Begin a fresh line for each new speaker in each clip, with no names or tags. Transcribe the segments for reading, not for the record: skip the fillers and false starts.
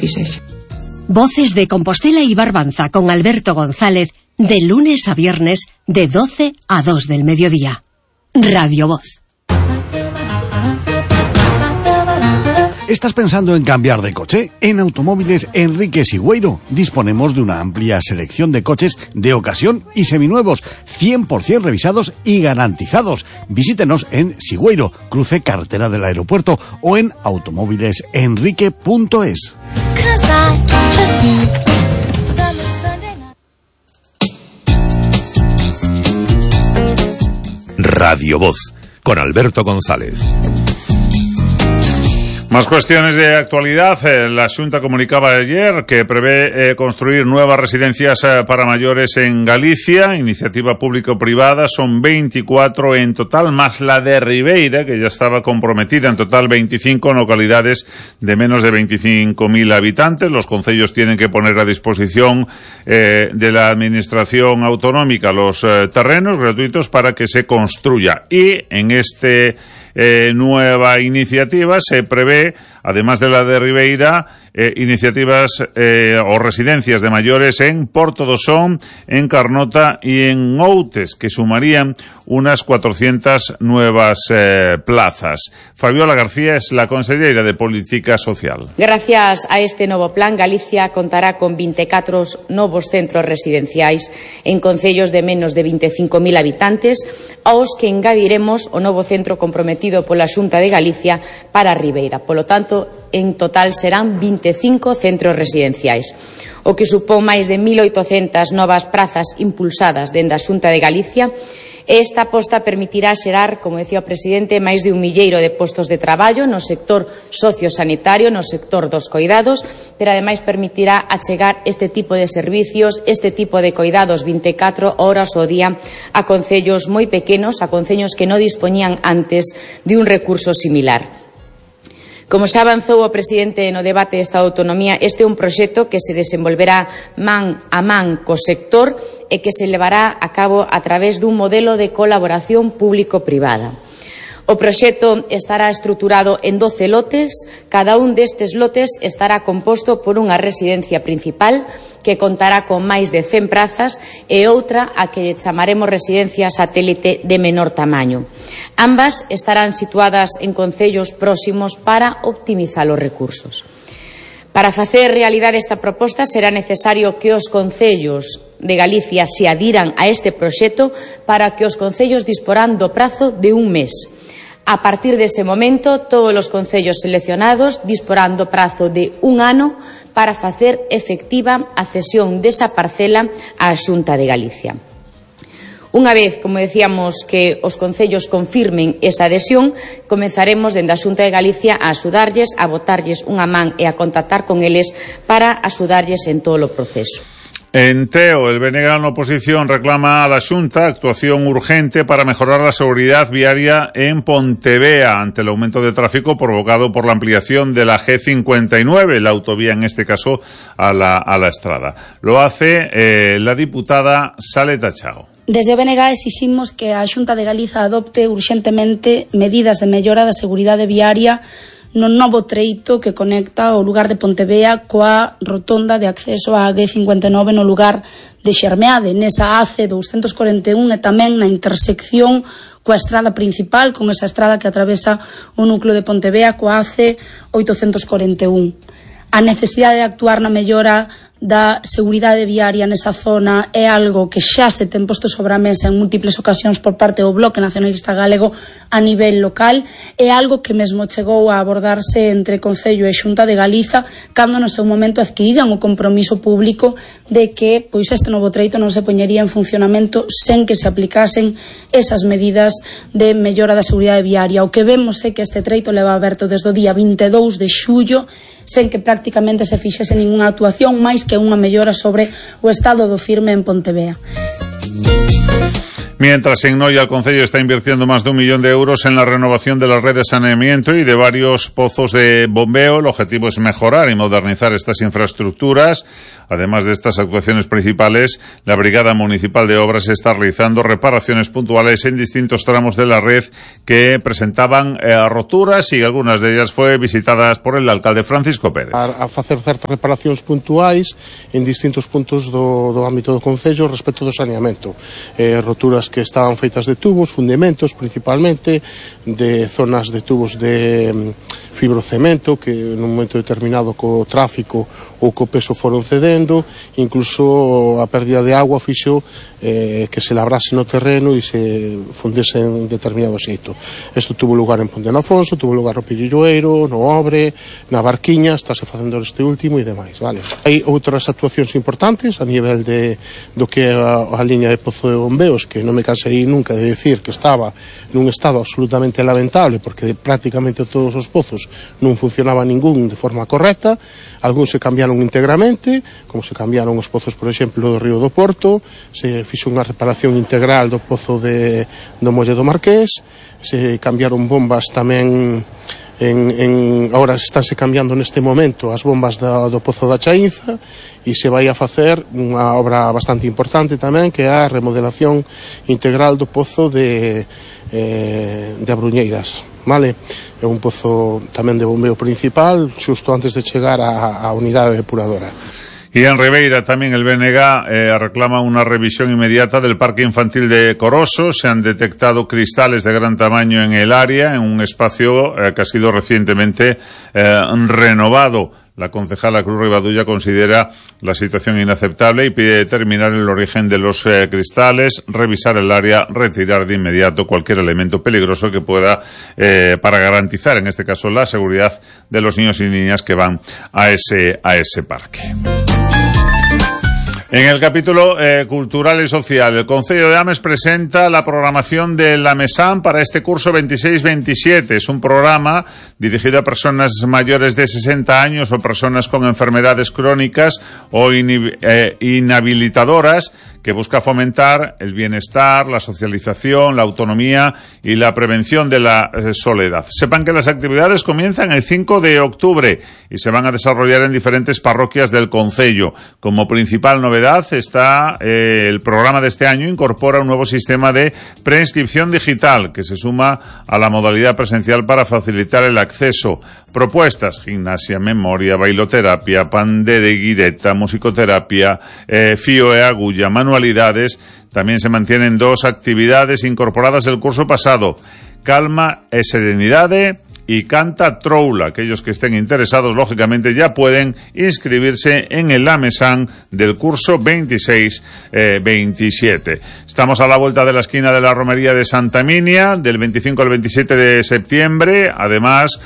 así sexa.
Voces de Compostela y Barbanza con Alberto González, de lunes a viernes, de 12 a 2 del mediodía. Radio Voz.
¿Estás pensando en cambiar de coche? En Automóviles Enrique Sigüeiro disponemos de una amplia selección de coches de ocasión y seminuevos, 100% revisados y garantizados. Visítenos en Sigüeiro, cruce carretera del aeropuerto, o en automóvilesenrique.es.
Radio Voz, con Alberto González.
Más cuestiones de actualidad. La Xunta comunicaba ayer que prevé construir nuevas residencias para mayores en Galicia, iniciativa público-privada, son 24 en total, más la de Ribeira, que ya estaba comprometida, en total 25 en localidades de menos de 25.000 habitantes. Los concellos tienen que poner a disposición de la administración autonómica los terrenos gratuitos para que se construya. Y en nueva iniciativa se prevé, además de la de Ribeira, iniciativas o residencias de mayores en Porto do Son, en Carnota y en Outes, que sumarían unas 400 nuevas plazas. Fabiola García es la consellera de Política Social.
Gracias a este novo plan, Galicia contará con 24 novos centros residenciais en concellos de menos de 25.000 habitantes, aos que engadiremos o novo centro comprometido pola Xunta de Galicia para Ribeira. Polo tanto, en total serán 25 centros residenciais, o que supón máis de 1.800 novas prazas impulsadas dende a Xunta de Galicia. Esta aposta permitirá xerar, como decía o presidente, máis de 1 milleiro de postos de traballo no sector sociosanitario, no sector dos coidados, pero ademais permitirá achegar este tipo de servicios, este tipo de coidados 24 horas ao día a concellos moi pequenos, a concellos que non dispoñían antes de un recurso similar. Como xa avanzou o presidente no debate desta autonomía, este é un proxecto que se desenvolverá man a man co sector e que se levará a cabo a través dun modelo de colaboración público-privada. O proxecto estará estruturado en 12 lotes. Cada un destes lotes estará composto por unha residencia principal que contará con máis de 100 prazas e outra a que chamaremos residencia satélite de menor tamaño. Ambas estarán situadas en concellos próximos para optimizar os recursos. Para facer realidade esta proposta será necesario que os concellos de Galicia se adiran a este proxecto para que os concellos disporán do prazo de un mes. A partir dese momento, todos os concellos seleccionados disporán do prazo de un ano para facer efectiva a cesión desa parcela á Xunta de Galicia. Unha vez, como decíamos, que os concellos confirmen esta adhesión, comenzaremos dende a Xunta de Galicia a axudarlles, a botarlles unha man e a contactar con eles para axudarlles en todo o proceso.
En Teo, el BNG en oposición reclama a la Xunta actuación urgente para mejorar la seguridad viaria en Pontevea ante el aumento de tráfico provocado por la ampliación de la G59, la autovía en este caso a la Estrada. Lo hace la diputada Saleta Chao.
Desde o BNG exiximos que a Xunta de Galiza adopte urxentemente medidas de mellora da seguridade viaria no novo treito que conecta o lugar de Pontevea coa rotonda de acceso á G59 no lugar de Xermeade, nesa AC 241 e tamén na intersección coa estrada principal, con esa estrada que atravesa o núcleo de Pontevea coa AC 841. A necesidade de actuar na mellora da seguridade viaria nesa zona é algo que xa se ten posto sobre a mesa en múltiples ocasións por parte do Bloque Nacionalista Galego a nivel local, é algo que mesmo chegou a abordarse entre Concello e Xunta de Galiza cando no seu momento adquiriran o compromiso público de que pois este novo treito non se poñería en funcionamento sen que se aplicasen esas medidas de mellora da seguridade viaria. O que vemos é que este treito leva aberto desde o día 22 de xullo sen que prácticamente se fixese ninguna actuación máis que unha mellora sobre o estado do firme en Pontevea.
Mientras en Noia el Concello está invirtiendo más de 1 millón de euros en la renovación de la red de saneamiento y de varios pozos de bombeo. El objetivo es mejorar y modernizar estas infraestructuras. Además de estas actuaciones principales, la Brigada Municipal de Obras está realizando reparaciones puntuales en distintos tramos de la red que presentaban roturas, y algunas de ellas fue visitadas por el alcalde Francisco Pérez.
A facer certas reparacións puntuais en distintos puntos do ámbito do Concello respecto do saneamento. Roturas que estaban feitas de tubos, fundimentos principalmente, de zonas de tubos de fibrocemento que nun momento determinado co tráfico ou co peso foron cedendo, incluso a pérdida de agua fixo que se labrase no terreno e se fundese en determinado xeito. Isto tuvo lugar en Ponte Afonso, tuvo lugar no Pirilloeiro, no Obre, na Barquiña, estáse facendo este último e demais, vale. Hai outras actuacións importantes a nivel do que é a liña de pozo de bombeos, que non me cansaría nunca de decir que estaba nun estado absolutamente lamentable, porque prácticamente todos os pozos non funcionaba ningún de forma correcta. Algúns se cambiaron íntegramente, como se cambiaron os pozos, por exemplo, do Río do Porto, se fixo unha reparación integral do pozo do Molle do Marqués, se cambiaron bombas tamén. Ahora estánse cambiando neste momento as bombas do Pozo da Chaínza, e se vai a facer unha obra bastante importante tamén, que é a remodelación integral do Pozo de Abruñeiras, vale? É un pozo tamén de bombeo principal, xusto antes de chegar á unidade depuradora.
Y en Ribeira también el BNG reclama una revisión inmediata del parque infantil de Coroso. Se han detectado cristales de gran tamaño en el área, en un espacio que ha sido recientemente renovado. La concejala Cruz Ribadulla considera la situación inaceptable y pide determinar el origen de los cristales, revisar el área, retirar de inmediato cualquier elemento peligroso que pueda, para garantizar, en este caso, la seguridad de los niños y niñas que van a ese parque. En el capítulo cultural y social, el Concello de Ames presenta la programación de la MESAM para este curso 26-27. Es un programa dirigido a personas mayores de 60 años o personas con enfermedades crónicas o inhabilitadoras, que busca fomentar el bienestar, la socialización, la autonomía y la prevención de la soledad. Sepan que las actividades comienzan el 5 de octubre y se van a desarrollar en diferentes parroquias del concello. Como principal novedad está el programa de este año incorpora un nuevo sistema de preinscripción digital que se suma a la modalidad presencial para facilitar el acceso. Propuestas: gimnasia, memoria, bailoterapia, pande de guireta, musicoterapia, fío e agulla, manualidades. También se mantienen 2 actividades incorporadas del curso pasado: calma e serenidade y canta troula. Aquellos que estén interesados, lógicamente, ya pueden inscribirse en el AMESAN del curso 26-27. Estamos a la vuelta de la esquina de la romería de Santa Minia, del 25 al 27 de septiembre, además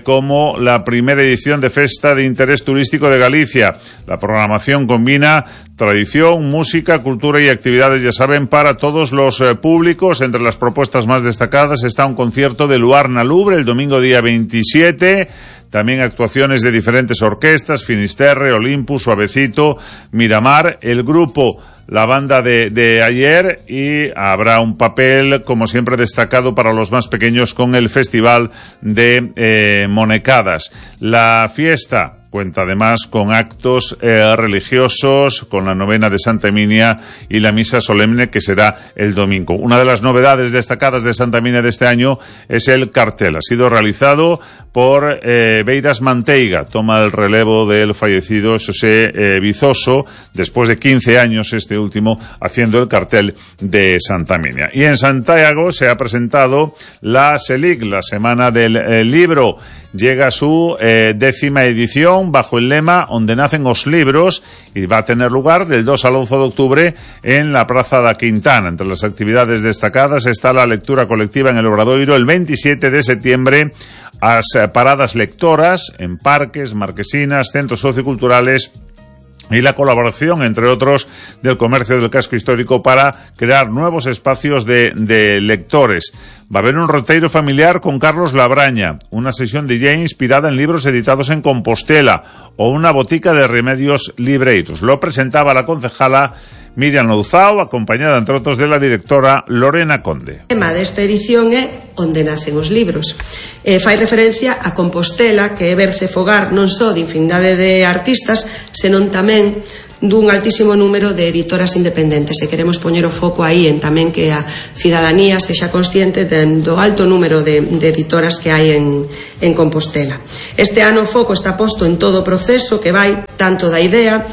como la primera edición de Festa de Interés Turístico de Galicia. La programación combina tradición, música, cultura y actividades, ya saben, para todos los públicos. Entre las propuestas más destacadas está un concierto de Luarna Lubre el domingo día 27, también actuaciones de diferentes orquestas: Finisterre, Olympus, Suavecito, Miramar, el grupo La Banda de ayer, y habrá un papel, como siempre, destacado para los más pequeños con el Festival de Monecadas. La fiesta cuenta además con actos religiosos, con la novena de Santa Emilia y la misa solemne, que será el domingo. Una de las novedades destacadas de Santa Emilia de este año es el cartel. Ha sido realizado por Beiras Manteiga. Toma el relevo del fallecido José Vizoso, después de 15 años este último haciendo el cartel de Santa Emilia. Y en Santiago se ha presentado la SELIC, la Semana del Libro. Llega a su 10ª edición bajo el lema "Onde nacen os libros", y va a tener lugar del 2 al 11 de octubre en la Praza da Quintana. Entre las actividades destacadas está la lectura colectiva en el Obradoiro el 27 de septiembre, as paradas lectoras en parques, marquesinas, centros socioculturales y la colaboración, entre otros, del comercio del casco histórico para crear nuevos espacios de lectores. Va a haber un roteiro familiar con Carlos Labraña, una sesión DJ inspirada en libros editados en Compostela o una botica de remedios libreiros. Lo presentaba la concejala Miriam Louzao, acompañada, entre outros, de la directora Lorena Conde.
O tema desta edición é Onde nacen os libros. Fai referencia a Compostela, que é berce fogar non só de infinidade de artistas, senón tamén dun altísimo número de editoras independentes, e queremos poñer o foco aí en tamén que a cidadanía sexa consciente do alto número de editoras que hai en Compostela. Este ano o foco está posto en todo o proceso que vai tanto da idea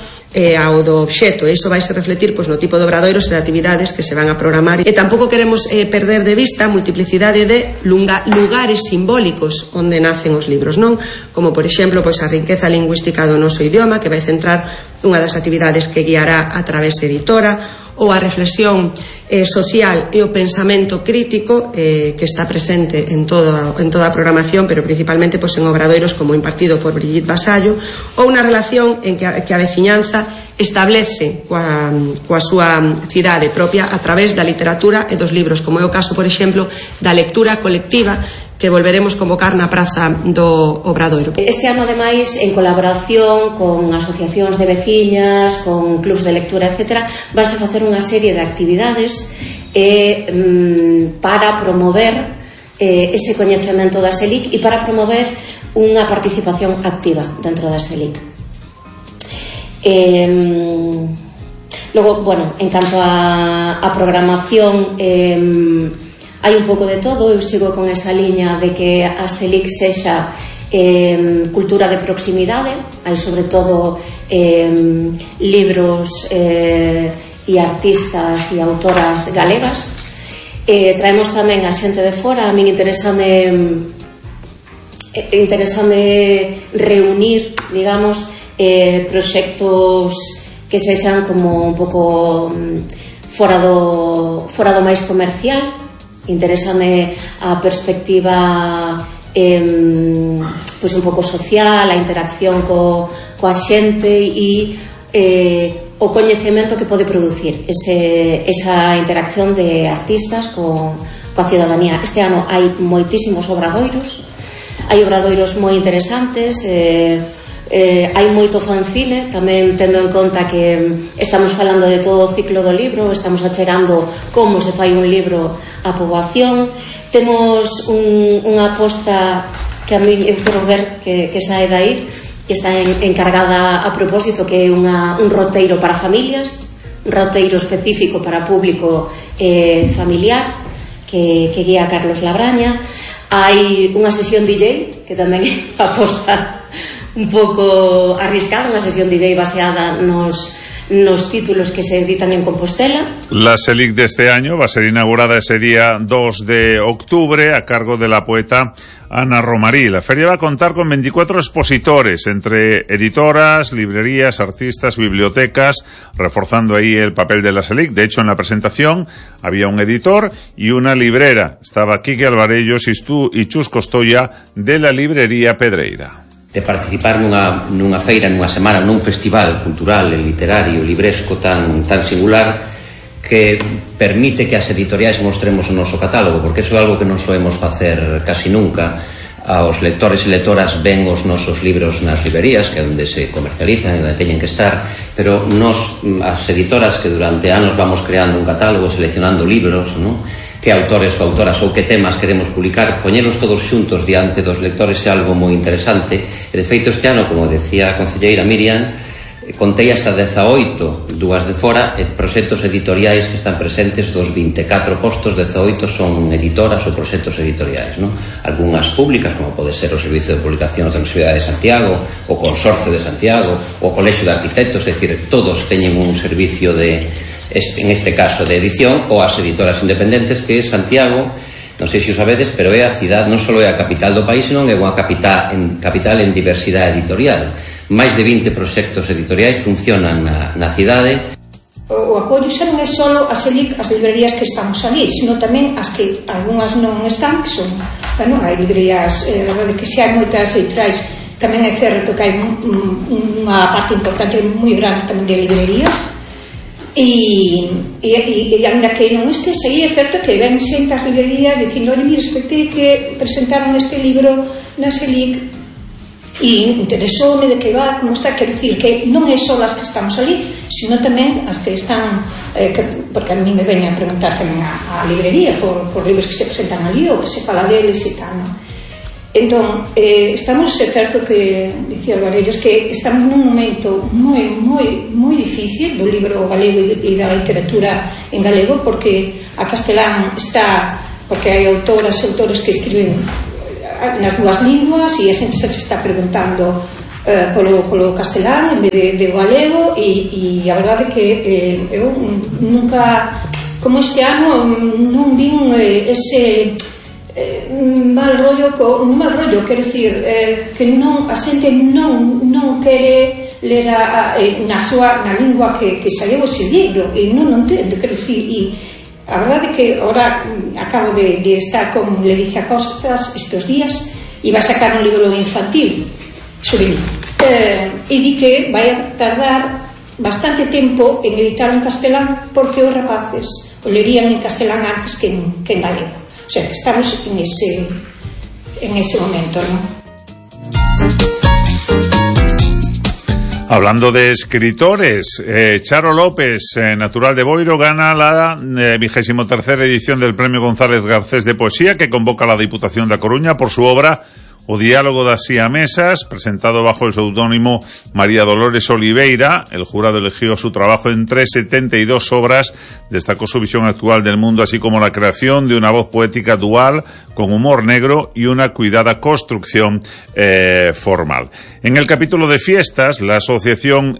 ao do obxecto, e iso vai se refletir no tipo de obradoiros e de actividades que se van a programar, e tampouco queremos perder de vista a multiplicidade de lugares simbólicos onde nacen os libros, non? Como, por exemplo, a riqueza lingüística do noso idioma, que vai centrar unha das actividades que guiará a Través Editora, ou a reflexión social e o pensamento crítico que está presente en toda a programación, pero principalmente en obradoiros como impartido por Brigitte Vasallo, ou unha relación en que a veciñanza establece coa súa cidade propia a través da literatura e dos libros, como é o caso, por exemplo, da lectura colectiva que volveremos convocar na Praza do Obradoiro.
Este ano, ademais, en colaboración con asociacións de veciñas, con clubs de lectura, etc., vanse a facer unha serie de actividades para promover ese coñecemento da SELIC e para promover unha participación activa dentro da SELIC. Logo, en canto a programación, hai un pouco de todo. Eu sigo con esa liña de que a SELIC sexa cultura de proximidade. Hai sobre todo libros e artistas e autoras galegas. Traemos tamén a xente de fora. A min interésame reunir, digamos, proxectos que sexan como un pouco fora do máis comercial. Interésame a perspectiva un pouco social, a interacción coa xente e o coñecemento que pode producir esa interacción de artistas coa cidadanía. Este ano hai moitísimos obradoiros, hai obradoiros moi interesantes, hai moito fanzine, tamén tendo en conta que estamos falando de todo o ciclo do libro, estamos achegando como se fai un libro á poboación. Temos unha aposta que a mí eu quero ver que sae dai, que está encargada a propósito, que é un roteiro para familias, un roteiro específico para público familiar, que guía Carlos Labraña. Hai unha sesión DJ, que tamén aposta un pouco arriscada, unha sesión DJ baseada nos títulos que se editan en Compostela.
La SELIC de este año va a ser inaugurada ese día 2 de octubre a cargo de la poeta Ana Romarí. La feria va a contar con 24 expositores, entre editoras, librerías, artistas, bibliotecas, reforzando ahí el papel de la SELIC. De hecho, en la presentación había un editor y una librera. Estaba Quique Alvarellos y Chus Costoya de la librería Pedreira.
De participar nunha feira, nunha semana, nun festival cultural, literario, libresco tan singular, que permite que as editoriais mostremos o noso catálogo, porque iso é algo que non soemos facer casi nunca. Os lectores e lectoras ven os nosos libros nas librerías, que é onde se comercializan e onde teñen que estar, pero nós, as editoras, que durante anos vamos creando un catálogo, seleccionando libros, non? Que autores ou autoras ou que temas queremos publicar, poñelos todos xuntos diante dos lectores é algo moi interesante. E de feito este ano, como decía a concelleira Miriam, contei hasta 18, dúas de fora, proxectos editoriais que están presentes. Dos 24 postos, 18 son editoras ou proxectos editoriais, non? Algúnas públicas, como pode ser o Servicio de Publicación da Universidade de Santiago, o Consorcio de Santiago, o Colexio de Arquitectos, é dicir, todos teñen un servicio en este caso de edición, ou as editoras independentes, que é Santiago, non sei se o sabedes, pero é a cidade, non só é a capital do país, senón é unha capital en diversidade editorial. Máis de 20 proxectos editoriais funcionan na cidade.
O apoio xa non é só a SELIC, as librerías que estamos ali, sino tamén as que algunhas non están, que son, hai librerías, verdade que xa hai moitas editoriais, tamén é certo que hai unha parte importante moi grande tamén de librerías. E ainda que non estes aí, é certo que ven xente as librerías dicindo: olha, mira, escoitei que presentaron este libro na SELIC, e interesoume de que va, como está, quero dicir que non é só as que estamos ali, sino tamén as que están porque a mí me veñen a preguntar tamén a librería por libros que se presentan ali ou que se fala deles e tal, non? Entón, estamos, é certo que dicía Varellos que estamos nun momento moi difícil do libro galego e da literatura en galego, porque a castelán está, porque hai autoras e autores que escriben nas dúas linguas e a xente se está preguntando polo castelán en vez de galego e a verdade que eu nunca, como este ano non vin ese mal rollo, quero dicir que non, a xente non quere ler na lingua que saiu ese libro e non entendo, quero dicir, e a verdade que ahora acabo de estar con Ledicia Costas estes días e vai sacar un libro infantil xuvenil e di que vai a tardar bastante tempo en editarlo en castelán porque os rapaces o lerían en castelán antes que en galego, o sea que estamos en ese momento, ¿no?
Hablando de escritores, Charo López, natural de Boiro, gana la 23ª edición del Premio González Garcés de Poesía que convoca la Diputación da Coruña por su obra O Diálogo das Siamesas, presentado bajo el seudónimo María Dolores Oliveira. El jurado eligió su trabajo entre 72 obras, destacó su visión actual del mundo, así como la creación de una voz poética dual, con humor negro y una cuidada construcción formal. En el capítulo de fiestas, la asociación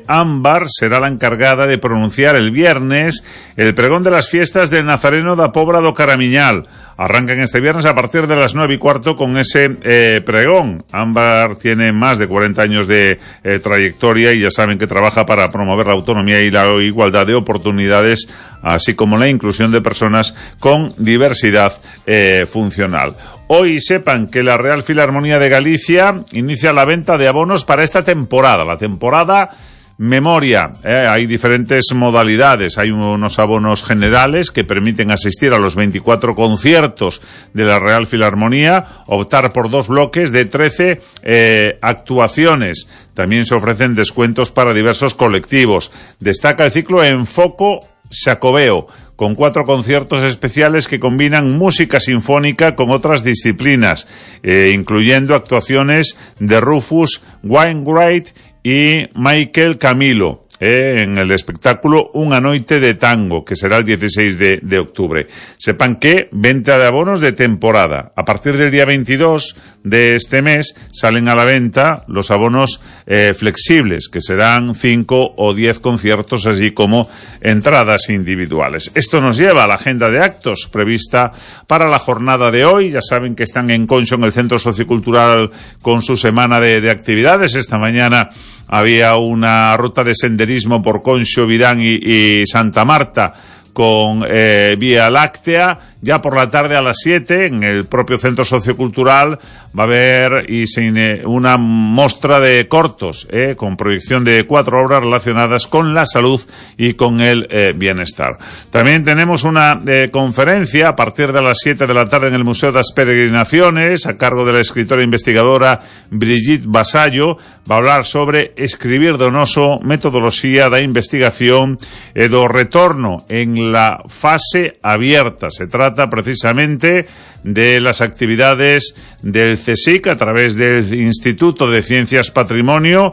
Ámbar será la encargada de pronunciar el viernes el pregón de las fiestas del Nazareno da Pobra do Caramiñal. Arrancan este viernes a partir de las 9:15 con ese pregón. Ámbar tiene más de 40 años de trayectoria y ya saben que trabaja para promover la autonomía y la igualdad de oportunidades, así como la inclusión de personas con diversidad funcional. Hoy sepan que la Real Filarmonía de Galicia inicia la venta de abonos para esta temporada, la temporada Memoria. Hay diferentes modalidades. Hay unos abonos generales que permiten asistir a los 24 conciertos de la Real Filarmonía, optar por 2 bloques de 13 actuaciones. También se ofrecen descuentos para diversos colectivos. Destaca el ciclo Enfoco Xacobeo, con 4 conciertos especiales que combinan música sinfónica con otras disciplinas, incluyendo actuaciones de Rufus Wainwright y Michael Camilo, en el espectáculo Unha noite de tango, que será el 16 de octubre. Sepan que venta de abonos de temporada. A partir del día 22 de este mes salen a la venta los abonos flexibles, que serán 5 o 10 conciertos, así como entradas individuales. Esto nos lleva a la agenda de actos prevista para la jornada de hoy. Ya saben que están en Conxo, en el Centro Sociocultural, con su semana de actividades. Esta mañana había una ruta de senderismo por Conxo, Virán y Santa Marta con Vía Láctea. Ya por la tarde a las 7, en el propio Centro Sociocultural, va a haber una muestra de cortos, con proyección de 4 obras relacionadas con la salud y con el bienestar. También tenemos una conferencia a partir de las 7 de la tarde en el Museo das Peregrinaciones, a cargo de la escritora e investigadora Brigitte Vasallo. Va a hablar sobre escribir donoso, metodoloxía da investigación e do retorno en la fase abierta. Se trata precisamente de las actividades del CSIC a través del Instituto de Ciencias Patrimonio,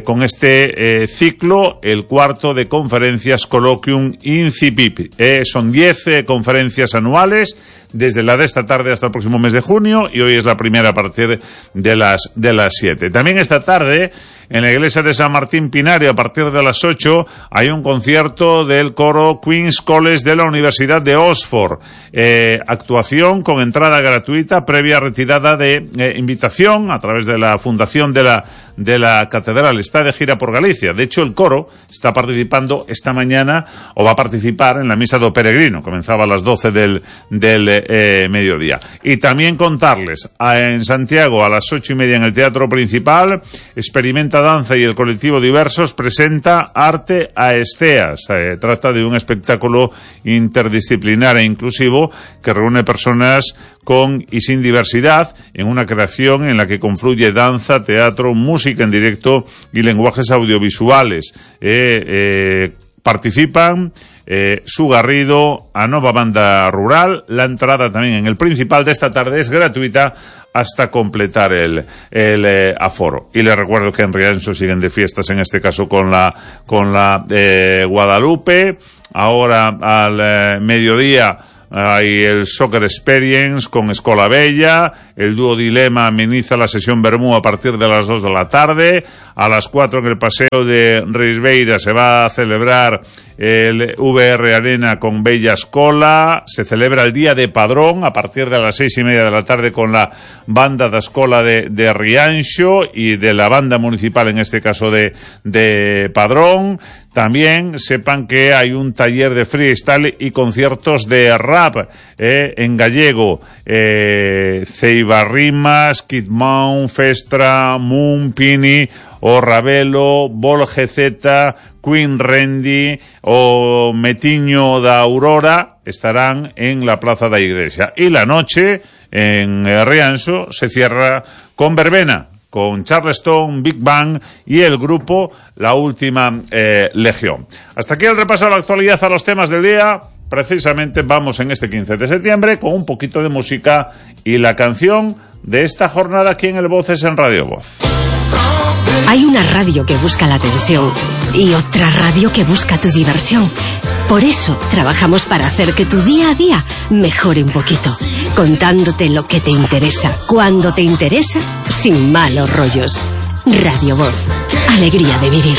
con este ciclo, el 4º de conferencias Colloquium Incipit. Son 10 conferencias anuales, desde la de esta tarde hasta el próximo mes de junio, y hoy es la primera a partir de las 7. También esta tarde, en la iglesia de San Martín Pinario, a partir de las 8, hay un concierto del coro Queen's College de la Universidad de Oxford. Actuación con entrada gratuita, previa retirada de invitación a través de la fundación de la catedral. Está de gira por Galicia. De hecho, el coro está participando esta mañana, o va a participar en la misa do Peregrino. Comenzaba a las 12 del mediodía. Y también contarles, en Santiago a las 8:30 en el Teatro Principal, Experimenta Danza y el colectivo Diversos presenta Arte a Esceas. Trata de un espectáculo interdisciplinar e inclusivo que reúne personas con y sin diversidad, en una creación en la que confluye danza, teatro, música en directo y lenguajes audiovisuales. Participan Su Garrido, a Nova Banda Rural. La entrada también en el principal de esta tarde es gratuita hasta completar el aforo. Y les recuerdo que en Rianxo siguen de fiestas, en este caso con la Guadalupe. Ahora al mediodía hay el Soccer Experience con Escola Bella. El dúo Dilema ameniza la sesión Bermú a partir de las 2 de la tarde. A las 4 en el Paseo de Risbeira se va a celebrar el VR Arena con Bella Escola. Se celebra el Día de Padrón a partir de las 6:30 de la tarde con la banda da Escola de Rianxo y de la banda municipal, en este caso de Padrón. También sepan que hay un taller de freestyle y conciertos de rap en gallego. Ceibarrimas, Kid Moon, Festra, Moon, Pini, o Ravelo, Bol GZ, Queen Randy o Metiño da Aurora estarán en la Plaza da Iglesia. Y la noche en Rianxo se cierra con verbena, con Charleston, Big Bang y el grupo La Última Legión. Hasta aquí el repaso a la actualidad, a los temas del día. Precisamente vamos en este 15 de septiembre con un poquito de música y la canción de esta jornada aquí en el Voces en Radio Voz.
Hay una radio que busca la atención y otra radio que busca tu diversión. Por eso trabajamos para hacer que tu día a día mejore un poquito, contándote lo que te interesa, cuando te interesa, sin malos rollos. Radio Voz, alegría de vivir.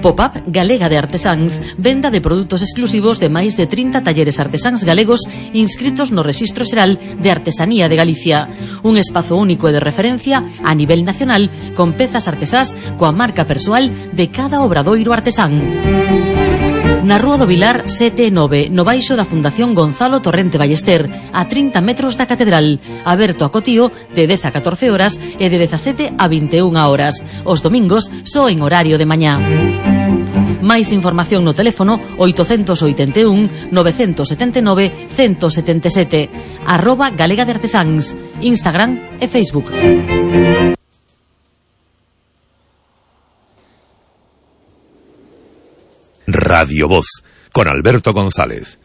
Pop-up Galega de Artesáns, venda de produtos exclusivos de máis de 30 talleres artesáns galegos inscritos no Rexistro Xeral de Artesanía de Galicia. Un espazo único e de referencia a nivel nacional con pezas artesás coa marca persoal de cada obradoiro artesán. Na Rúa do Vilar 7-9, no baixo da Fundación Gonzalo Torrente Ballester, a 30 metros da Catedral, aberto a cotío de 10 a 14 horas e de 17 a 21 horas. Os domingos só en horario de mañá. Máis información no teléfono 881 979 177, @Galega de Artesáns, Instagram e Facebook.
Radio Voz, con Alberto González.